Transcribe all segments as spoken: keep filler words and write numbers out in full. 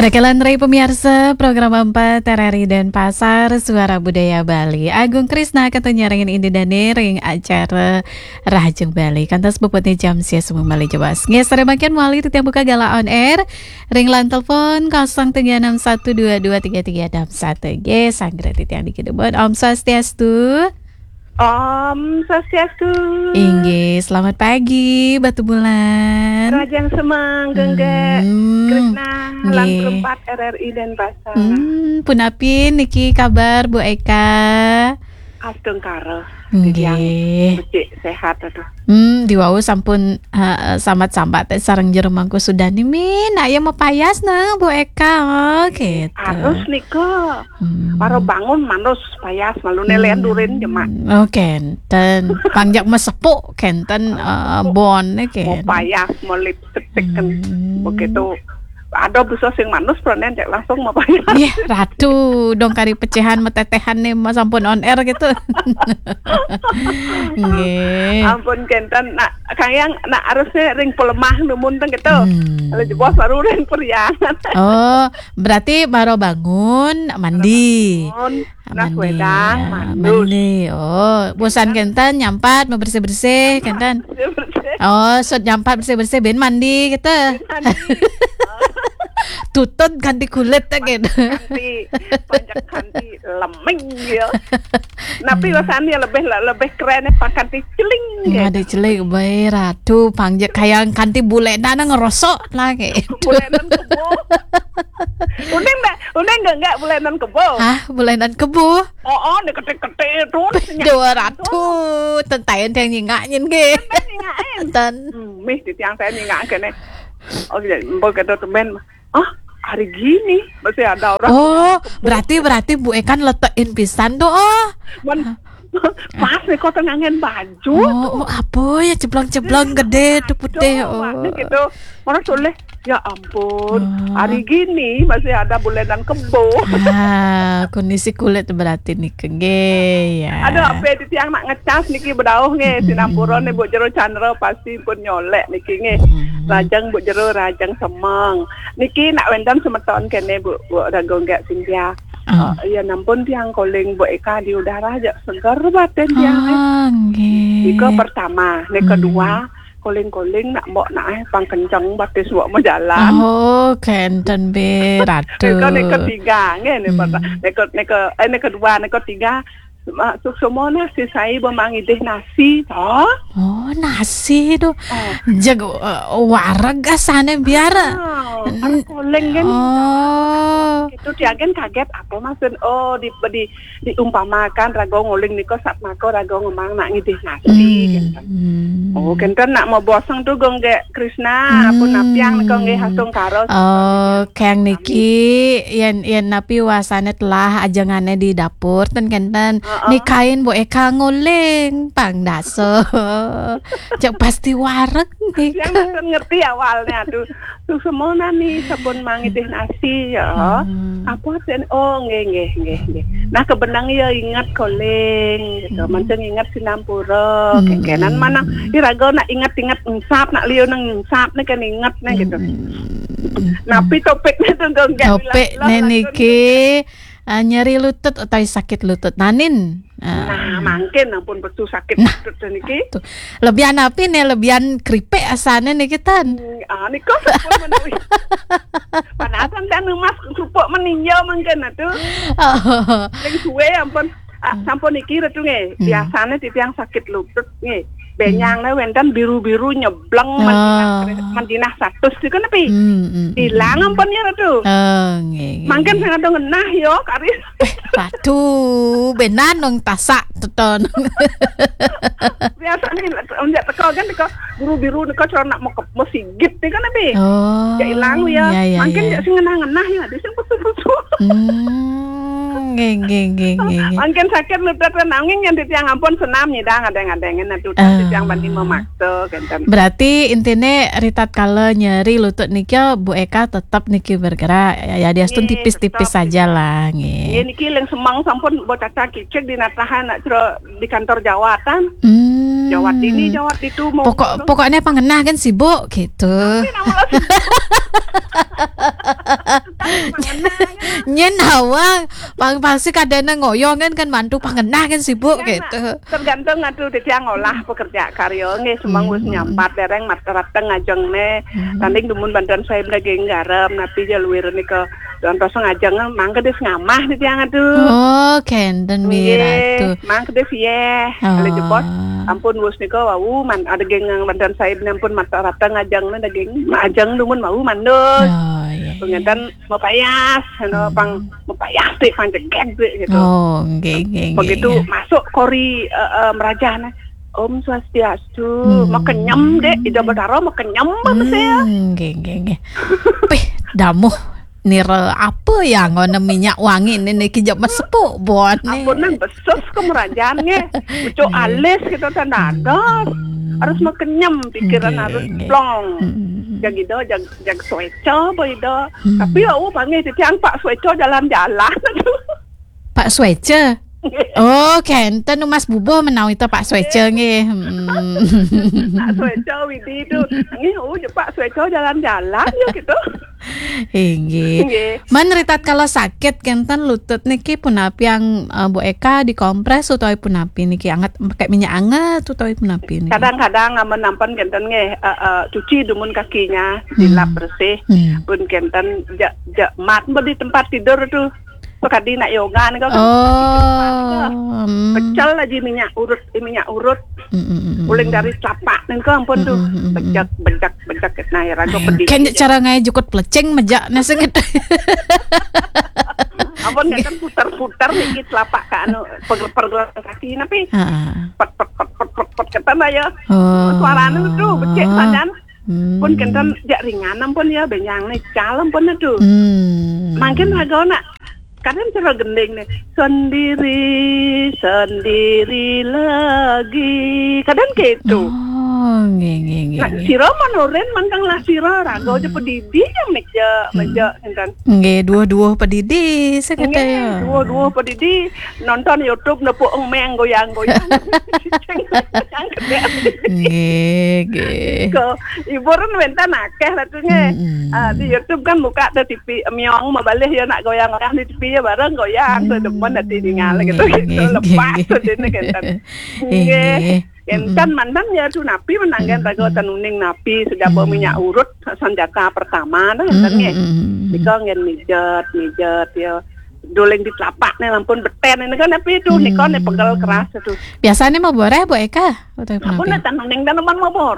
Sekian rai pemirsa, program empat R R I Denpasar, Suara Budaya Bali. Agung Krisna kantun nyarengin Indi Dane ring acara Rahajeng Bali. Kantos puputne jam sia sumeng malih jebos. Nggih, sareng mangkin malih titiang buka galah on air ring line telepon kosong tiga enam satu dua dua tiga tiga enam satu. Nggih, sanggra titiang niki dumun. Om Swastiastu. Om Swastiastu. Inggih, selamat pagi, Batu Bulan. Rahajeng semeng, Gengge, Hmm, Krisna, lan nggih. Kru empat R R I Denpasar. Hmm, punapi niki kabar, Bu Eka? Astungkara. Nggih. Titiang becik sehat, aduh. Hmm, diwau sampun, eh, sambat-sambat sareng jero Mangku Sudani, min, nak ya mapayas nah, Bu Eka, oh, gitu. Harus nika. Hmm. Para bangun manus payas malu nelen durin jemak. Oh, kenten. Pangjak mesepuk kenten, eh, bon, eh, kenten. Mau payas, mau lipstick kan. Hmm. Begitu. Ada bisa sing manus, pranen cek langsung mau payas. Nggih, Ratu, dong kari pecahan metetehan nih, mas sampun on air gitu. Nggih. Ampun kenten, nak kayang, nak harusnya ring pelemah numun teng gitu. Hmm. Kalau jebos baru ring periangan. Oh, berarti baru bangun, mandi. Bangun, nah, mandi, wedang, ya, mandus. Mandi. Oh, bosan kenten nyampat, mau bersih-bersih, kenten. Bersih-bersih. Oh, sud nyampat bersih-bersih, ben mandi gitu. Ben mandi. Tutun ganti kulit, gitu. Ganti, pajak ganti lemeng, ya. Tapi Hmm. Rasanya lebih, lebih keren, ya, pakai celing, gitu. Ada celing, bae, Ratu, pangjak kayak kanti bulenan ngerosok, lah, gitu. Bulenan kebo. Uning nggak, uning nggak, nggak bulenan kebo. Hah, bulenan kebo? Oh, oh, ini ketik-ketik itu, Dua ratu, tentayan yang nyingakin, nggih. Tentayan nyingakin. Ten. Hmm, mih, di tiang saya nyingak kene. Oh, iya, mbok kata temen. Ah, hari gini masih ada orang. Oh, berarti, berarti Bu Ekan letekin pisan tuh, oh. Men, pas nih kok tengangen baju. Oh, tuh. Oh, apa ya, ceblong-ceblong gede tuh putih, aduh, oh. Mana gitu. Mana soleh. Ya ampun, oh. Hari gini masih ada bulenan kebo. Ah, kondisi kulit berarti nih, nggih, ya. Aduh, apa di tiang nak ngecas niki bedauh nggih, hmm. Sinampura nih, Bu Jero Chandra pasti pun nyolek niki nggih. Hmm. Rahajeng Bu Jero, rahajeng semeng. Niki nak wenten semeton kene, Bu, Bu Rago nggak Cynthia. Hmm. Eh, ya nampun tiang calling Bu Eka di udara aja seger batin tiang, eh. Ah, nggih. Nika pertama, nih hmm. Kedua, calling-calling nak mbok nak, eh, pang kenceng batis mbok mau jalan. Oh, kenten be, Ratu. Nika, nika tiga, nggih, nika hmm. Nika, nika, eh, nika dua, nika tiga. Masuk semua nasi, saya mau mangidih nasi, toh. Oh, nasi tuh. Oh. Jago, eh, wareg asane biar. Oh, n-, calling kan. Oh. Itu dia kan kaget apa maksud, oh, di, di diumpamakan raga nguling nika satmaka raga ngemang nak ngidih nasi, hmm, kenten. Hmm. Oh, kenten nak maboseng tu gong gek Krisna, hmm. Pun napiang nika nggih hasung karo. Oh, keng niki yen, yen napi wasane telah ajengane di dapur ten kenten. Heeh. Nikain Bu Eka nguling pang daso. Cek pasti wareg nika. Yang mboten ngerti awalnya, aduh. Susumonani sampun mangidih nasi ya. Hmm. Apa sen? Oh, nggih, nggih, nggih, nggih. Nah, kebenang ya ingat calling gitu. Hmm. Mancing ingat sinampura. Hmm. Kekenan mana iraga nak ingat-ingat ensap, nak liu nang ensap nih kan ingat nih gitu. Hmm. Napi topiknya tuh, Gong? Topik nih niki, eh, nyeri lutut atau sakit lutut. Nanin. Ah. Nah, mangkin ampun betul sakit nah, lutut niki. Tuh. Lebihan apa nih? Lebihan keripik asane niki tan. Hmm, ah, nika sampun menawi. Panasan dan emas kerupuk meninjau mangkin atuh. Oh. Sing suwe ampun, ah, hmm. Sampun niki Ratu nggih. Hmm. Biasane titiang sakit lutut nggih. Benyang hmm. Wenten biru-biru nyebleng oh. Mendinah, mendinah satus niku nepi. Hmm, hmm, hmm. Ilang ampun ya Ratu. Oh, nggih, nggih. Mangkin sing ada ngenah ya kari. Eh, Ratu, benan nang tasak teton. Biasane onjak teko kan teko biru-biru nika cara nak mau ke-, mau sigit nika nepi. Oh. Ya ilang ya. Ya, ya, mangkin ya. Ya sing ngenah-ngenah ya, di sing putu-putu. Hmm, nggih, nggih, nggih, nggih, nggih. Mangkin sakit lutut nanging yang titiang ampun senam nyidang adeng-adengen atuh ah. Titiang bani memaksa kenten. Berarti intine ritatkala nyeri lutut niki Bu Eka tetep niki bergerak ya, ya diastun nggih, tipis-tipis tetep saja lah nggih. Nggih niki ling semeng sampun Bu Caca kicik dinatahan nak cero di kantor jawatan. Hmm. Jawat ini, jawat itu, mau pokok, pokoknya pangenah kan sibuk gitu. Tapi nama lo sibuk. Tapi Yén nawang, pang pasti kadéna ngoyong kan, kan mantu pang genah kan sibuk. Iya, gitu. Tergantung atuh titiang ngolah pekerja karya nggih, semeng wis nyampat dereng mat rateng ngajengné. Hmm. Tanding dumun banten saib daging garam, napi ja luir nika. Contoh ngajeng mangke des ngamah titiang atuh. Oh, kénten. Nggih, miratu. Mangke des yéh. Oh. Kali jebos, ampun wis nika wau man ada geng banten saib ampun mat rateng ngajeng daging. Ajeng dumun wau mandul. Oh, iya, iya. Pengenten mapayas, anu, hmm, pang mapayas, Dék, pang jegég, Dék, gitu. Oh, nggih, nggih, nggih, begitu, iya, masuk kori, eh, eh, merajahné, "Om Swastiastu." Hmm. Makenyem, Dék, Ida Betara makenyem, Bang, hmm, saya. Nggih, nggih, nggih. Pih, damuh nira apa ya ngono minyak wangi niki jep mesepuk buat nih. Ampun, nang besus ke merajahné. Mucuk, nggih, alis gitu, tanda, hmm, ados. Harus makenyem, pikiran, nggih, harus, nggih, plong. Hmm. Jang Ida, jang, jang suéca, apa Ida. Hmm. Tapi ya, oh, panggih titiang Pak Suéca jalan-jalan. Pak Suéca? Nggih. Oh, kénten Mas Bubuh menawi to Pak Suéca nggih. Hmm. Pak Suéca Widi tu. Nggih, oh, Pak Suéca jalan-jalan ya gitu. Inggih. Nggih. Man ritatkala sakit kénten lutut niki punapi yang, eh, Bu Eka dikompres utawi punapi niki anget pakai minyak anget utawi punapi niki? Kadang-kadang amun nampen kénten nggih, eh, eh, cuci dumun kakinya, hmm, dilap bersih. Hmm. Pun kénten jak, jak mat di tempat tidur tuh. Sekadi nak yoga nika kan. Oh, hmm. Pecel aja minyak urut, eh, minyak urut. Mm, mm, mm, mm. Uling dari telapak nika ampun tuh. Mm, mm, mm, mm. Bejek, bejek, bejek. Nah, ya raga pedih. Kan cara ngai jukut pelecing mejak nasi gitu. Ampun, kan putar-putar niki telapak ke anu, pergelangan kaki napi. Heeh. Pet, pet, pet, pet, pet, pet, kata ya. Oh. Suarane tuh becik sajan. Hmm. Pun kénten jak ringan ampun ya, benjang nih, cal ampun tuh. Hmm. Mangkin raga nak kadang cara gending nih, "Sendiri, sendiri lagi." Kadang gitu. Oh, nggih, nggih, nggih, nah, nggih. Sira manurin manteng lah sira, raga aja pedidi yang meja, hmm, meja, kénten. Nggih, duwuh-duwuh pedidi, saya kata nggih, ya. Duwuh-duwuh pedidi, nonton YouTube nepuk emeng goyang-goyang. Nggih, nggih. Kok hiburan wénten akeh lah tuh nggih. Mm-mm. Ah, di YouTube kan buka tuh T V miong mabalih ya nak goyang-goyang di T V ya bareng goyang tuh demen ati ningal gitu, nggih, gitu. Nggih, lepas nggih, tuh dene kénten. Nggih, nggih. Nggih. Kénten manten ya tuh napi menanggen raga ten uning napi sejaba minyak urut senjata pertama nah kénten nggih. Mm-mm. Nika nggih mijet, mijet ya. Doling di telapak nih lampun beten ini kan napi tuh nika nih pegel keras tuh. Biasanya mau boreh Bu Eka? Utawi punapi? Ampun, tanaman, tanaman mabor.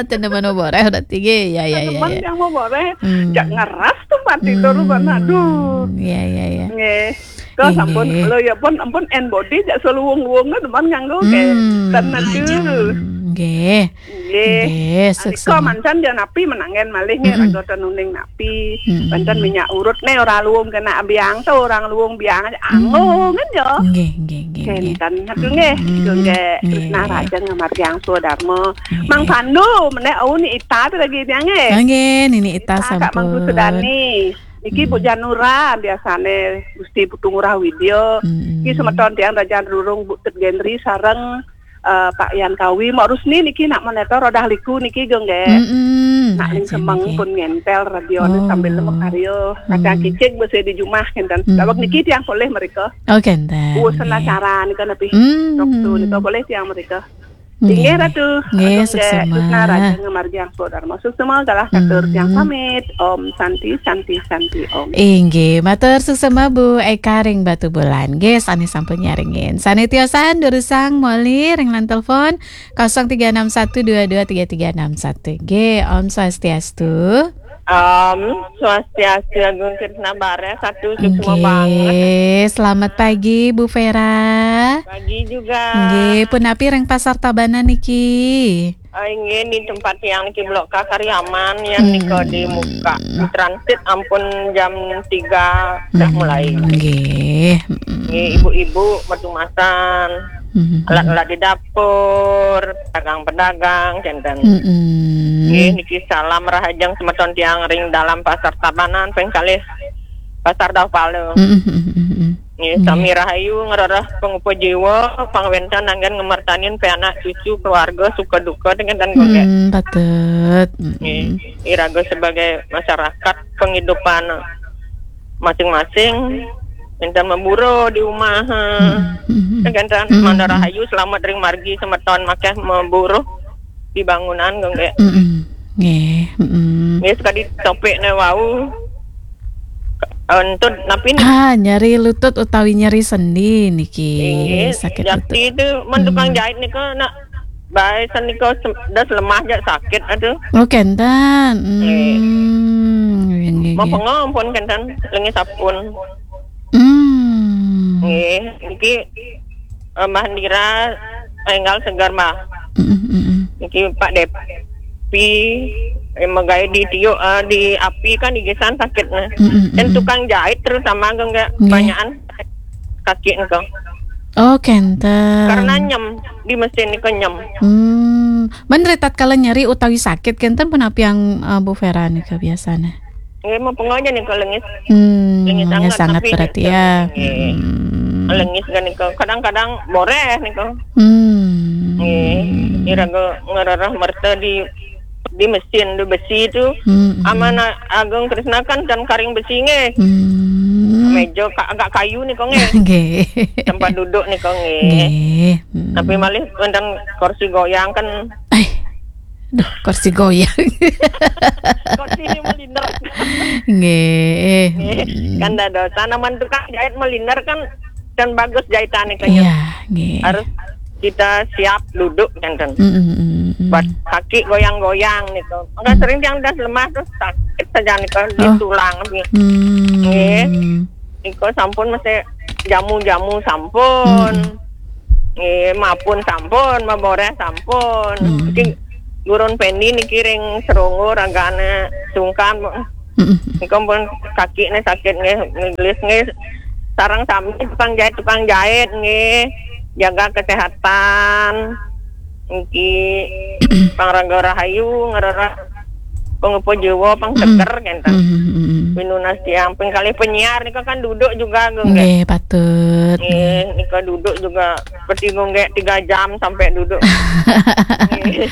Tanaman mabor, eh, udah tinggi. Ya, ya, ya, tanaman ya. Yang mabor, eh. Hmm. Jak ngeras tuh mati terus kan, aduh. Ya, ya, ya. Nggih. Kok sampun, lo ya pun, ampun, en body jak seluwung-luwung kan, teman nganggo ke. Hmm. Ten aduh. Nggih. Nggih. Nggih, sukses. Nika mancan dia napi menangen malih nggih, hmm, raga ten uning napi. Pi, hmm, pancen minyak urut nih ora luwung kena biang tuh, orang luwung biang aja anggo kan ya. Nggih, nggih, nggih, nggih. Kénten atuh nggih, hmm, nggih, nggih. Tresna Rajeng ngamargiang swadarma. Nggih. Mang Pandu, menek au ni Ita tuh lagi dia nggih. Ah, nggih, Nini Ita, Ita Kak sampun. Mangku Sudani. Niki Bu, hmm, Janura biasane Gusti Putu Ngurah Widya. Hmm. Niki semeton tiang Rajan Rurung Bu Tet Gendri sareng eh, Pak Yan Kawi, Mak Rusni niki nak monitor rodah liku niki, Gong, nggih. Mm-mm. Nak ling semeng pun ngentel radio ni sambil makarya. Kacang kicik besi di jumah, kénten. Mm-mm. Dawek niki tiang polih mereka. Oh, kénten. Urusan acara nika napi. Mm. Waktu nika polih tiang mereka. Nggih, nggih, Ratu. Nggih, Agung, suksema. Nggih, Susna Raja ngamargiang swadarma. Suksema galah katur tiang pamit. Om Santi, Santi, Santi, Om. Inggih, matur suksema Bu Eka ring Batubulan. Nggih, sane sampun nyarengin. Sane tiosan durusang moli ring line telepon kosong tiga enam satu dua dua tiga tiga enam satu. Nggih, Om Swastiastu. Om Swastiastu, Agung Krisna Bareh, satu suksema banget. Nggih, selamat pagi Bu Vera. Pagi juga. Nggih, punapi ring Pasar Tabanan niki? Ah, inggih, di tempat tiang niki Blok K Kariaman, yang nika di muka. Di transit ampun jam tiga dah mulai. Nggih. Nggih, ibu-ibu, metumasan, alat-alat di dapur, pedagang-pedagang, kénten. Nggih, niki salam rahajeng semeton tiang ring dalam Pasar Tabanan, pengkalih Pasar Dauh Pala. Nggih, sami rahayu, ngrereh pangupa jiwa, pangwénten anggén ngamertanin pianak cucu, keluarga, suka duka, dengan dan gonggé. Hmm, patut. Nggih, iraga sebagai masyarakat, penghidupan masing-masing, enten maburuh di umah. Hmm, hmm, hmm. Kan, enten, hmm, mangda rahayu, selamet ring margi, semeton makéh maburuh di bangunan, nggih. Hmm, hmm. Nggih. Hmm, hmm. Nggih, sekadi topikné wau. Entud napi niki? Ah, nyeri lutut utawi nyeri sendi niki. Inggih, sakit jakti lutut. Itu, men tukang, hmm, jahit nika nak baé sané nika sem-, das lemah jak sakit, aduh. Oh, kénten. Nggih. Hmm, nggih, nggih, nggih. Mapenga ampun kénten, lengis sampun. Hmm. Nggih, niki, eh, Mbah Indira, énggal seger, Mbah. Mm, mm, mm. Niki Pak Depi, eh, magaé di tiuk, eh, di api kan gigisan sakitné. Mm, mm, mm, mm. Tukang jahit terutama nggih, nggih, kebanyakan kaki nggih. Oh, kénten. Karena nyem, di mesin nika nyem. Hmm. Men ri tatkala nyeri utawi sakit kénten punapi, eh, Bu Vera nika biasané? Nggih, mapenga ja nika lengis. Hmm, lengis sangat berarti ya. Nggih. Hmm. Lengis ja nika. Kadang-kadang boréh nika. Hmm. Nggih. Iraga ngrereh merta di, di mesin, di besi tu. Hmm, hmm. Aman A-, Agung Krisna kan tan karing besi nggih. Hmm. Méja ka-, agak kayu nika nggih. Nggih. Tempat duduk nika nggih. Nggih. Hmm. Tapi malih wénten kursi goyang kan. Ai. Duh, kursi goyang. Kursi ini meliner. Nggih. Nggih. Hmm. Kan dados. Tanaman tukang jahit meliner kan, kan bagus jahitan itu, ya. Iya, nggih. Harus kita siap duduk, kan, kan. Mm, mm, mm, mm. Buat kaki goyang-goyang gitu. Maka, hmm, sering yang udah lemah terus sakit saja nih, kan, di, oh, tulang nih. Hmm. Nggih. Nika sampun masih jamu-jamu sampun. Mm-mm. Nggih, mapun sampun, maboréh sampun. Mm. Niki gurun Pendi niki ring Seronggo ragané sungkan. Mm-mm. Nika pun kakiné sakit nggih, ngelis nggih. Sareng sami tukang jahit, tukang jahit nggih. Jaga kesehatan. Niki pang raga rahayu, ngrereh pangupa jiwa, pang, mm-mm, seger kénten. Mm-mm, mm-mm. Pinunas tiang, ping kalih penyiar nika kan duduk juga, nggih. Nggih, patut. Nggih, nika duduk juga seperti nggih tiga jam sampai duduk. Nggih.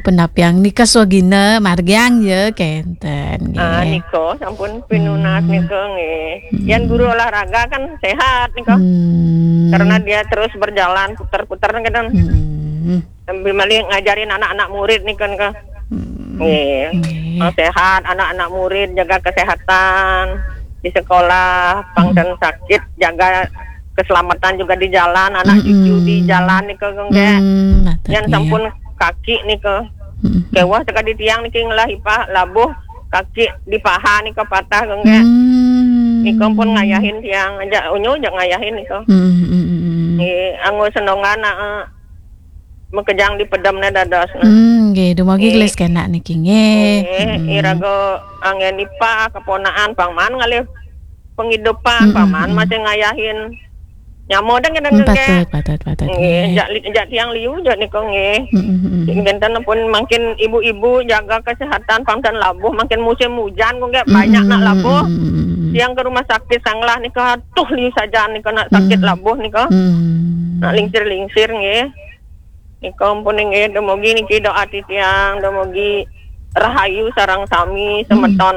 Punapiang nika swagina margiang ya, kénten, nggih. Ah, nika sampun pinunas, hmm, nika nggih. Hmm. Yan guru olahraga kan sehat nika. Hmm. Karena dia terus berjalan putar-putar nika. Hmm. Sambil malih ngajarin anak-anak murid nih kan, Kak. Hmm. Nggih. Nggih. Yang sehat, anak-anak murid jaga kesehatan di sekolah, pang, hmm, dan sakit, jaga keselamatan juga di jalan, anak, mm-mm, cucu di jalan nih, Kak, nggih. Hmm, patut, nggih. Yang sampun kaki nih, Kak. Mm-mm. Kéweh sekadi tiang niki ngelah ipah labuh kaki di paha nih, Kak, patah, Kak, nggih. Hmm. Nika pun ngayahin tiang, aja unyu aja ngayahin nih, Kak. Hmm, hmm, hmm, hmm. Nggih, anggo senongan, eh, makejang di pedemné dados, nah. Hmm, nggih, dumogi, nggih, gelis kénak niki, nggih. Nggih, hmm, iraga anggén ipah, keponakan, pang maan ngalih pengidupan, hmm, pang maan, hmm, masih ngayahin. Nyama dan kadang, hmm, nggih. Patut, patut, patut, nggih, nggih. Jak li-, jak tiang liu, jak nika, nggih. Hmm, hmm, hmm, hmm. Kénten pun makin ibu-ibu jaga kesehatan, pang tan labuh, makin musim hujan, kok, nggih, hmm, banyak nak labuh. Hmm, hmm, hmm, hmm. Tiang ke rumah sakit Sanglah nika, tuh liu saja nika nak sakit, hmm, labuh nika. Hmm. Nak lingsir-lingsir, nggih. Nika ampun nggih, dumugi niki doa titiang, dumugi rahayu sareng sami, mm-mm, semeton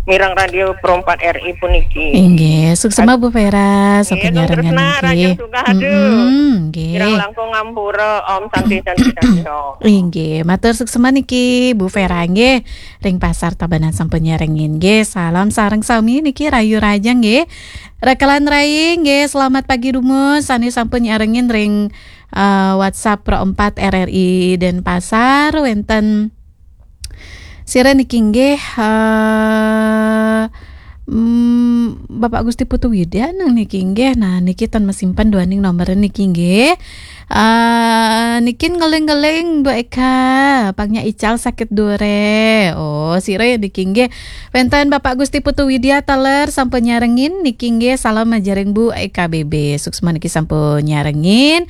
mireng Radio Pro empat R I puniki. Inggih, suksma Bu Vera, nggih, sampun nyarengan niki. Rahajeng sugih, aduh. Mm-mm, nggih. Kirang langkung ngampura, Om Santi, Santi, Santi, Om. Inggih, matur suksma niki Bu Vera nggih. Ring Pasar Tabanan sampun nyarengin nggih. Salam sareng sami niki rahayu rahajeng nggih. Rekelan rai nggih, selamat pagi dumun. Sané sampun nyarengin ring eh, WhatsApp Pro empat R R I Denpasar, wénten sira niki nggih, eh, mm, Bapak Gusti Putu Widya nang niki nggih. Nah, niki tan masimpen duaning nomor niki nggih. Eh, niki ngeling-ngeling Bu Eka, pang nyak ical sakit duré. Oh, sira niki nggih. Wénten Bapak Gusti Putu Widya taler sampun nyarengin niki nggih, salam ajaring Bu Eka B B. Suksma niki sampun nyarengin.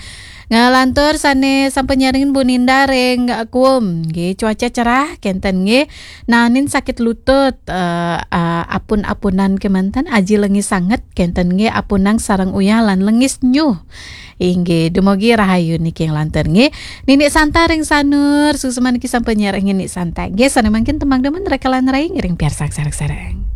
Nglantur sané sampun nyarengin Bu Ninda ring Kuum. Nggih, cuaca cerah kénten nggih. Naenin sakit lutut, eh, eh, apun-apunan kémanten, aji lengis sanget kénten nggih, apunang sareng uyah lan lengis nyuh. Inggih, dumugi rahayu niki nglantur nggih. Nini Santa ring Sanur, suksma niki sampun nyarengin Nini Santa. Nggih, sané mangkin tembang demen rekelan rai ngiring piarsang sareng-sareng.